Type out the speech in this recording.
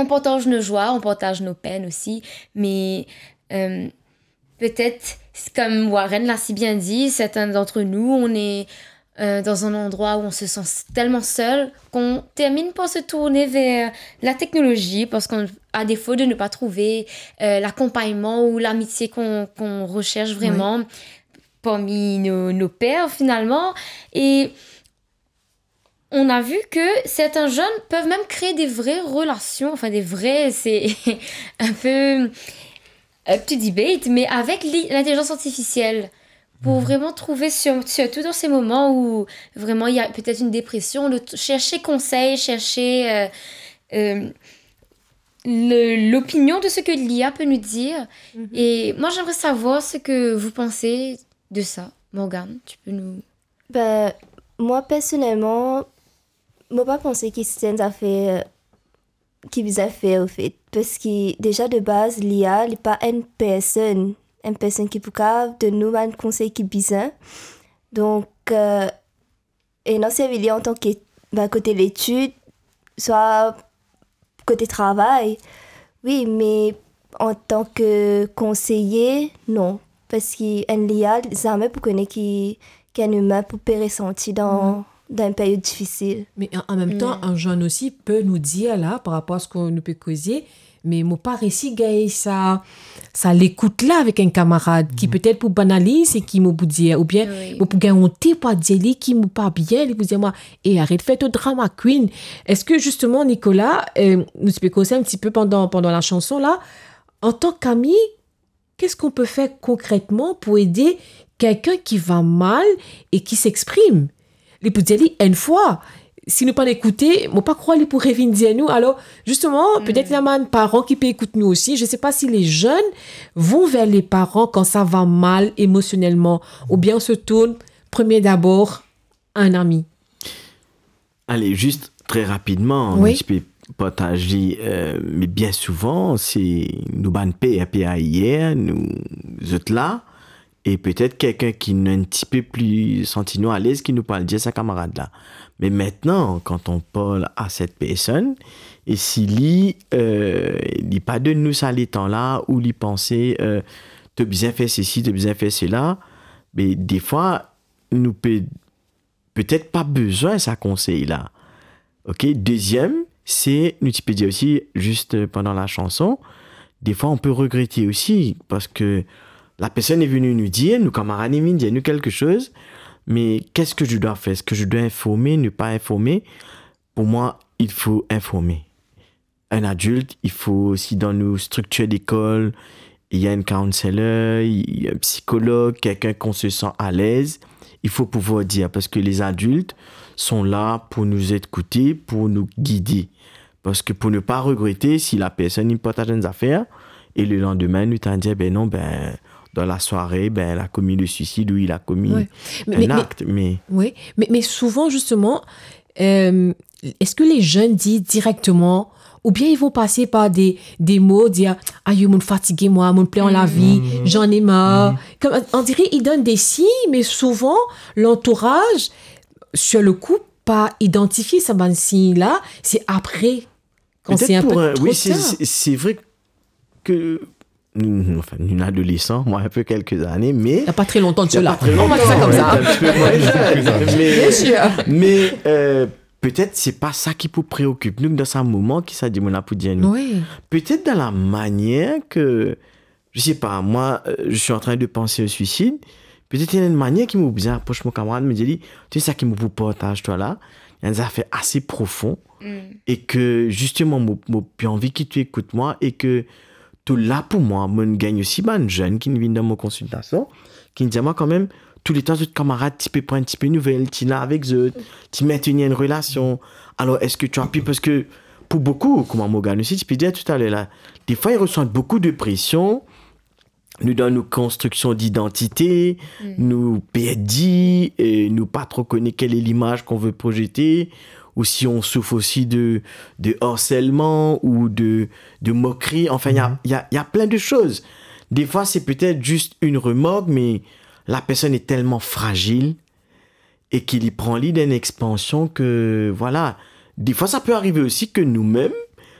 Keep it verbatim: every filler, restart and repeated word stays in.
On partage nos joies, on partage nos peines aussi, mais, euh, peut-être, comme Warren l'a si bien dit, certains d'entre nous, on est, euh, dans un endroit où on se sent tellement seul qu'on termine par se tourner vers la technologie parce qu'on, à défaut de ne pas trouver, euh, l'accompagnement ou l'amitié qu'on, qu'on recherche vraiment parmi nos, nos pairs finalement. Et on a vu que certains jeunes peuvent même créer des vraies relations, enfin des vraies, c'est un peu up to debate, mais avec li-, l'intelligence artificielle, pour vraiment trouver, sur- surtout dans ces moments où vraiment il y a peut-être une dépression, de t- chercher conseil, chercher euh, euh, le- l'opinion de ce que l'I A peut nous dire. Et moi, j'aimerais savoir ce que vous pensez de ça. Morgane, tu peux nous... Ben, mwa personelman, mo pa panse ki se enn zafer ki bizin fer, ofet. Parski deza de baz, L I A, li pa enn personn, enn personn ki pou kav donn nou bann konsey ki bizin. Donk, euh, ena servi li antan ki, ben, kote letid, swa kote travay, wi, me antan ki konseye, non. Parski enn L I A, zame pou kone ki, ki enn imin pou pe resanti dan, dan enn peryod difisil. Me an, an mem tan, enn zenn osi pe nou dir la, par rapor a seki nou pe koze, me mo pa resi gagn sa, sa lekout la avek enn kamarad ki petet pou banaliz seki mo pou dir, oubien mo pou gagn onte pou al dir li ki mo pa bien, li pou dir mwa, "E, aret fer to drama queen." Eski zisteman, Nicolas, euh, nou ti pe koze enn tipe pandan, pandan lasanson la, antan ki ami, qu'est-ce qu'on peut faire concrètement pour aider quelqu'un qui va mal et qui s'exprime? Li pou dir li enn fwa, si nou pa ekoute, mo pa krwar li pou revinn dir nou. Alor, zisteman, petet ena bann paran ki pe ekout nou osi. Je sais pas si les jeunes vont vers les parents quand ça va mal émotionnellement, oubien on se tourne premier d'abord à un ami. Ale, zis tre rapidman, Wi. Nou ti pe partaz li, euh, me bien souvan, se nou bann per, per ayer, nou, zot la, e petet kelkenn ki nou enn tipe pli santi nou alez ki nou pou al dir sa kamarad la. Me maintenant, quand on parle à cette personne, e si li, euh, li pa donn nou sa letan la, ou li panse, euh, to bizin fer sesi, to bizin fer sela, me defwa, nou pe petet pa bizin sa konsey la. Ok, deziem, se, nou ti pe dir osi, zis, euh, pandan lasanson, defwa on pe regrete osi, parski la personne est venue nous dire, nou kamarad inn vinn dir nou quelque chose, mais qu'est-ce que je dois faire? Est-ce que je dois informer, ne pas informer? Pour moi, il faut informer. Un adulte, il faut aussi dans nos structures d'école, il y a un counselor, il y a un psychologue, quelqu'un qu'on se sent à l'aise. Il faut pouvoir dire, parce que les adultes sont là pour nous écouter, pour nous guider. Parce que pour ne pas regretter, si la personne, li partaj enn zafer, e le lendemain, nou tann dir, ben non, ben, dans la soirée, ben, elle a commis le suicide ou il a commis Ouais. un Mais- mais- acte. Mais Oui, mais, mais souvent, justement, euh, est-ce que les jeunes disent directement, ou bien ils vont passer par des, des mots, dire, "Aïe, mo fatigé, moi, mo plin la vie, j'en ai marre." Comme, on dirait, ils donnent des signes, mais souvent, l'entourage, sur le coup, pas identifier ces signes-là, c'est après, quand c'est peut-être un pour peu un- trop oui, c'est- tard. c'est c'est vrai que nous, enfin, nous adolescents, moi un peu quelques années, mais Il n'y a pas très longtemps de Il y a cela. pas très On va dire ça longtemps, comme on ça. était un petit peu moins jeune, mais, Bien sûr. mais, euh, peut-être c'est pas ça qui peut préoccuper nous dans ce moment qui ça dit mon là pour dire nous. Oui. Peut-être dans la manière que, je sais pas, moi, euh, je suis en train de penser au suicide. Peut-être il y a une manière qui m'a besoin approche mon camarade, me dire, tu sais ça qui me partage toi là, il y a des affaires assez profondes et que justement, moi, moi, j'ai envie que tu écoutes moi et que tout là pour moi, moi, je gagne aussi, ben, jeune qui vient dans mon consultation, ki dir mwa kanmem, touletan zot kamarad ti pe pran enn tipe nouvel, ti la avek zot, ti maintenir enn relasion. Alors, est-ce que tu as pu, parce que pour beaucoup, kouma Morgane osi ti pe dir talèr la, des fois ils ressentent beaucoup de pression, nou dan nou konstriksion d'identité, nou perdi, e nou pa tro kone quelle est l'image qu'on veut projeter, ou si on souffre aussi de, de harcèlement ou de, de moquerie. Enfin, il y a, il y a, il y a plein de choses. Des fois, c'est peut-être juste une remarque, mais la personne est tellement fragile et qu'il y prend l'idée d'une expansion que, voilà. Des fois, ça peut arriver aussi que nous-mêmes,